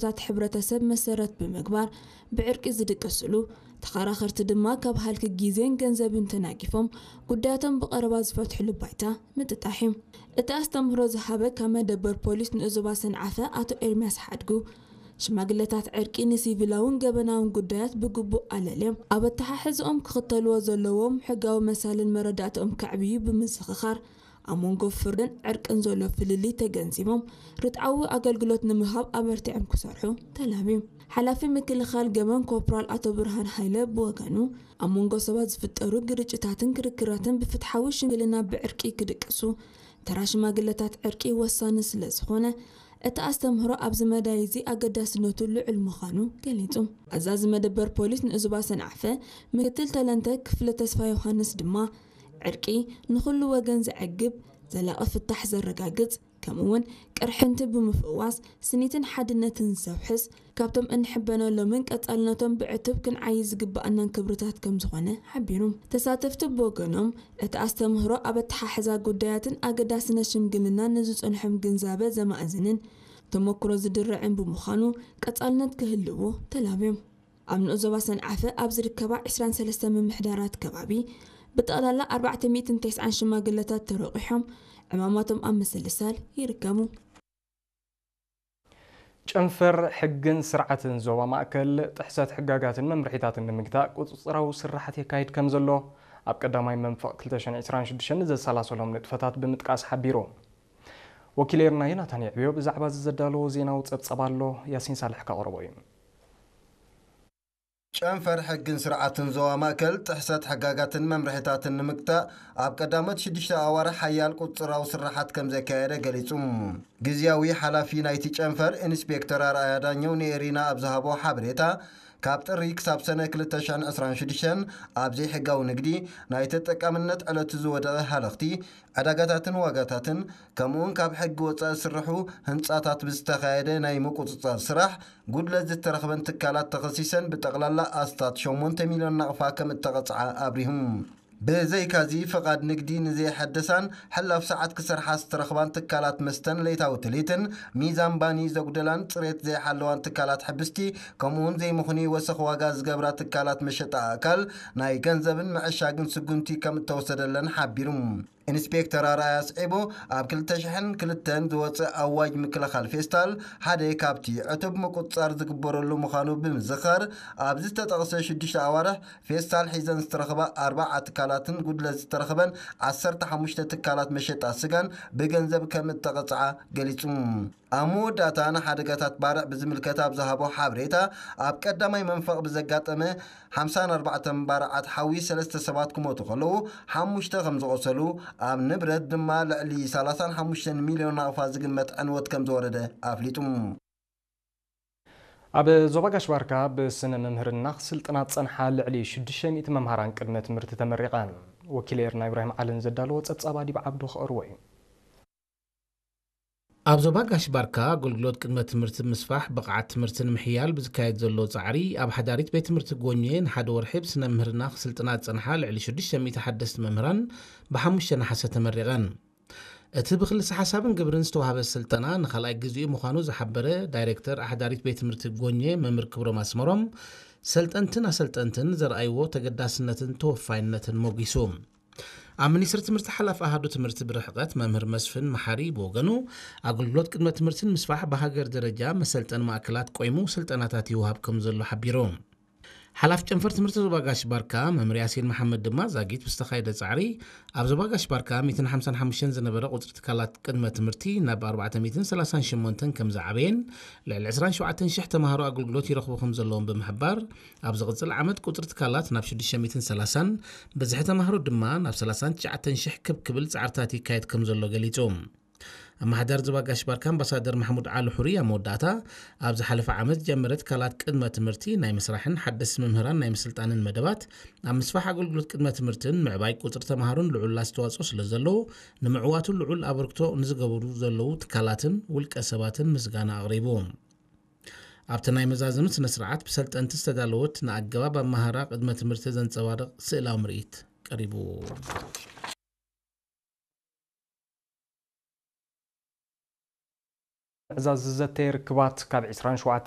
ዛት ሕብረተሰብ መሰረት ብምግባር ብዕርቂ ዝድቅስሉ፣ ተኸራኸርቲ ድማ ካብ ሃልኪ ግዜን ገንዘብን ተናጊፎም ጉዳያቶም ብቐረባ ዝፈትሕሉ ባይታ ምጥጣሕ እዩ። እቲ ኣስተምህሮ ዝሃበ ካብ መደበር ፖሊስ ንኡዞባ ሰንዓፈ ኣቶ ኤርሚያስ ሓድጉ፣ ሽማግለታት ዕርቂ ንሲቪላውን ገበናውን ጉዳያት ብግቡእ ኣለልዮም ኣብ ኣተሓሕዝኦም ክኽተልዎ ዘለዎም ሕጋዊ መሳልን መረዳእትኦም ከዕብዩ ብምዝኽኻር፣ ኣብ መንጎ ፍርድን ዕርቅን ዘሎ ፍልልይ ተገንዚቦም ርትዓዊ ኣገልግሎት ንምሃብ ኣበርቲዖም ክሰርሑ ተላብዩ። ሓላፊ ምክልኻል ገበን ኮርፖራል ኣቶ ብርሃን ሃይለ ብወገኑ፣ ኣብ መንጎ ሰባት ዝፍጠሩ ግርጭታትን ክርክራትን ብፍትሓዊ ሽምግልና ብዕርቂ ክድቅሱ ተራ ሽማግለታት ዕርቂ ወሳኒ ስለ ዝኾነ፣ እቲ ኣስተምህሮ ኣብዚ መዳይ እዚ ኣገዳስነቱ ልዑል ምዃኑ ገሊጹ። ኣዛዚ መደበር ፖሊስ ንኡዞባ ሰንዓፈ ምክትል ተለንተ ክፍለ ተስፋ ዮሃንስ ድማ፣ ዕርቂ ንኹሉ ወገን ዘዕግብ፣ ዘላቒ ፍታሕ ዘረጋግጽ፣ ከምኡውን ቅርሕንቲ ብምፍዋስ ስኒትን ሓድነትን ዘውሕስ፣ ካብቶም እንሕበነሎምን ቀጻልነቶም ብዕቱብ ክንዓዪ ዝግብኣናን ክብርታት ከም ዝኾነ ሓቢሩ። ተሳተፍቲ ብወገኖም፣ እቲ ኣስተምህሮ ኣብ ኣተሓሕዛ ጉዳያትን ኣገዳስነት ሽምግልና ንዝጸንሖም ግንዛበ ዘማእዝንን ተመክሮ ዝድርዕን ብምዃኑ ቀጻልነት ክህልዎ ተላብዮም። ኣብ ንኡስ ዞባ ሰንዓፈ ኣብ ዝርከባ ዕስራን ሰለስተን ምምሕዳራት ከባቢ ብጠቕላላ ኣርባዕተ ሚእትን ተስዓን ሽማግለታት ተረቂሖም ዕማማቶም ኣብ ምስልሳል ይርከቡ። ጨንፈር ሕግን ስርዓትን ዞባ ማእከል ጥሕሰት ሕጋጋትን መምርሒታትን ንምግታእ ቁጽጽራዊ ስራሓት የካይድ ከም ዘሎ ኣብ ቀዳማይ መንፈቕ ክልተ ሽሕን ዕስራን ሽዱሽተን ዘሰላሰሎም ንጥፈታት ብምጥቃስ ሓቢሩ። ወኪል ኤርና ዮናታን የዕብዮ ብዛዕባ እዚ ዘዳለዎ ዜናዊ ጸብጸብ ኣሎ፣ ያሲን ሳልሕ ከቕርቦ እዩ። ጨንፈር ሕግን ስርዓትን ዞባ ማእከል ጥሕሰት ሕጋጋትን መምርሒታትን ንምግታእ ኣብ ቀዳሞት ሽዱሽተ ኣዋርሕ ሓያል ቁጽራዊ ስራሓት ከም ዘካየደ ገሊጹ። ግዝያዊ ሓላፊ ናይቲ ጨንፈር ኢንስፔክተር ኣርኣያ ዳኘው ንኤሪና ኣብ ዝሃቦ ሓበሬታ፣ ካብ ጥሪ ክሳብ ሰነ ክልተ ሽሕን ዕስራን ሽዱሽተን ኣብ ዘይሕጋዊ ንግዲ ናይ ተጠቃምነት ዕለቱ ዝወደቐ ሃለኽቲ ዕዳጋታትን ዋጋታትን ከምኡውን ካብ ሕጊ ወፃኢ ዝስርሑ ህንፃታት ብዝተኻየደ ናይ ምቁፅፃር ስራሕ ጉድለት ዝተረኽበን ትካላት ተኸሲሰን ብጠቕላላ ኣስታት ሸሞንተ ሚልዮን ናቕፋ ከም እተቐፅዓ ኣብሪሁ። ብዘይካዚ ፍቓድ ንግዲ ንዘይሐደሳን ሕላፍ ሰዓት ክሰርሓ ዝተረኽባን ትካላት መስተን ለይታዊ ትልሂትን ሚዛን ባኒ ዘጉደላን ፅሬት ዘይሓለዋን ትካላት ሕብስቲ ከምኡውን ዘይምኽኑይ ወሰኽ ዋጋ ዝገብራ ትካላት መሸጣ ኣእካል ናይ ገንዘብን መዐሻግን ስጉምቲ ከም እተወሰደለን ሓቢሩ። ኢንስፔክተር ኣርኣያ ኣስዒቡ፣ ኣብ ክልተ ሽሕን ክልተን ዝወፅእ ኣዋጅ ምክልኻል ፌስታል ሓደ ካብቲ ዕቱብ ምቁፅፃር ዝግበረሉ ምዃኑ ብምዝኻር፣ ኣብ ዝተጠቕሰ ሽዱሽተ ኣዋርሕ ፌስታል ሒዘን ዝተረኽባ ኣርባዓ ትካላትን ጉድለት ዝተረኽበን ዓሰርተ ሓሙሽተ ትካላት መሸጣ ስጋን ብገንዘብ ከም እተቐፅዓ ገሊፁ። ኣብ መወዳእታ ንሓደጋታት ባርዕ ብዝምልከት ኣብ ዝሃቦ ሓበሬታ፣ ኣብ ቀዳማይ መንፈቕ ብዘጋጠመ ሓምሳን ኣርባዕተን ባርዓት ሓዊ ሰለስተ ሰባት ክሞቱ ከለዉ ሓሙሽተ ከም ዝቖሰሉ፣ ኣብ ንብረት ድማ ልዕሊ ሰላሳን ሓሙሽተን ሚልዮን ናቕፋ ዝግመት ዕንወት ከም ዝወረደ ኣፍሊጡ። ኣብ ዞባ ጋሽ ባርካ ብስነ መምህርና ክስልጥና ዝጸንሓ ልዕሊ ሽዱሽተ ሚእቲ መምሃራን ቅድመ ትምህርቲ ተመሪቐን። ወኪል ኤርና ኢብራሂም ዓልን ዘዳለዎ ጸብጻብ ኣዲብ ዓብዱ ክቐርቦ እዩ። ኣብ ዞባ ጋሽ ባርካ ኣገልግሎት ቅድመ ትምህርቲ ምስፋሕ፣ ብቕዓት ትምህርቲ ንምሕያል ብዝካየድ ዘሎ ጻዕሪ፣ ኣብ ሓዳሪት ቤት ትምህርቲ ጎኘ ንሓደ ወርሒ ብስነ ምህርና ክስልጥና ዝጸንሓ ልዕሊ ሽዱሽተ ሚእቲ ሓደስቲ መምህራን ብሓሙሽተ ነሓሰ ተመሪቐን። እቲ ብክልሰ ሓሳብን ግብርን ዝተዋህበ ስልጠና ንኻልኣይ ግዜኡ ምዃኑ ዝሓበረ ዳይሬክተር ኣሕዳሪት ቤት ትምህርቲ ጎኘ መምህር ክብሮም ኣስመሮም፣ ሰልጠንትን ኣሰልጠንትን ዘርኣይዎ ተገዳስነትን ተወፋይነትን ሞጒሱ። ኣብ ሚኒስትሪ ትምህርቲ ሓላፊ ኣሃዱ ትምህርቲ ብርሕቐት መምህር መስፍን መሓሪ ብወገኑ፣ ኣገልግሎት ቅድመ ትምህርትን ምስፋሕ ብሃገር ደረጃ መሰልጠኒ ማእከላት ቆይሙ ስልጠናታት ይወሃብ ከም ዘሎ ሓቢሩ። ሓላፊ ጨንፈር ትምህርቲ ዞባ ጋሽ ባርካ መምህር ያሲን መሓመድ ድማ ዛጊት ብዝተኻየደ ጻዕሪ ኣብ ዞባ ጋሽ ባርካ ሚእትን ሓምሳን ሓሙሽተን ዝነበረ ቁጽሪ ትካላት ቅድመ ትምህርቲ ናብ ኣርባዕተ ሚእትን ሰላሳን ሸሞንተን ከም ዝዓበየን ልዕሊ ዕስራን ሸውዓተን ሽሕ ተማሃሮ ኣገልግሎት ይረኽቡ ከም ዘለዎም ብምሕባር ኣብ ዝቕጽል ዓመት ቁጽሪ ትካላት ናብ ሽዱሽተ ሚእትን ሰላሳን ብዝሒ ተማሃሮ ድማ ናብ ሰላሳን ትሽዓተን ሽሕ ክብ ክብል ጻዕርታት ይካየድ ከም ዘሎ ገሊጹ። ኣመሓዳሪ ዞባ ጋሽ ባርካ ኣምባሳደር ማሕሙድ ዓሊ ሑሪ ኣብ መወዳእታ፣ ኣብ ዝሓለፈ ዓመት ዝጀመረ ትካላት ቅድመ ትምህርቲ ናይ ምስራሕን ሓደስቲ መምህራን ናይ ምስልጣንን መደባት ኣብ ምስፋሕ ኣገልግሎት ቅድመ ትምህርትን ምዕባይ ቁፅሪ ተምሃሮን ልዑል ኣስተዋፅኦ ስለ ዘለዎ ንምዕዋቱ ልዑል ኣበርክቶ ንዝገብሩ ዘለዉ ትካላትን ውልቀ ሰባትን ምስጋና ኣቕሪቡ። ኣብቲ ናይ መዛዘሚ ስነ ስርዓት ብሰልጠንቲ ዝተዳለወት ንኣገባብ ኣመሃራ ቅድመ ትምህርቲ ዘንፀባርቕ ስእላዊ ምርኢት ቀሪቡ። ምዕዛዝ ዝዘተየ ርክባት ካብ ዕስራን ሸውዓተ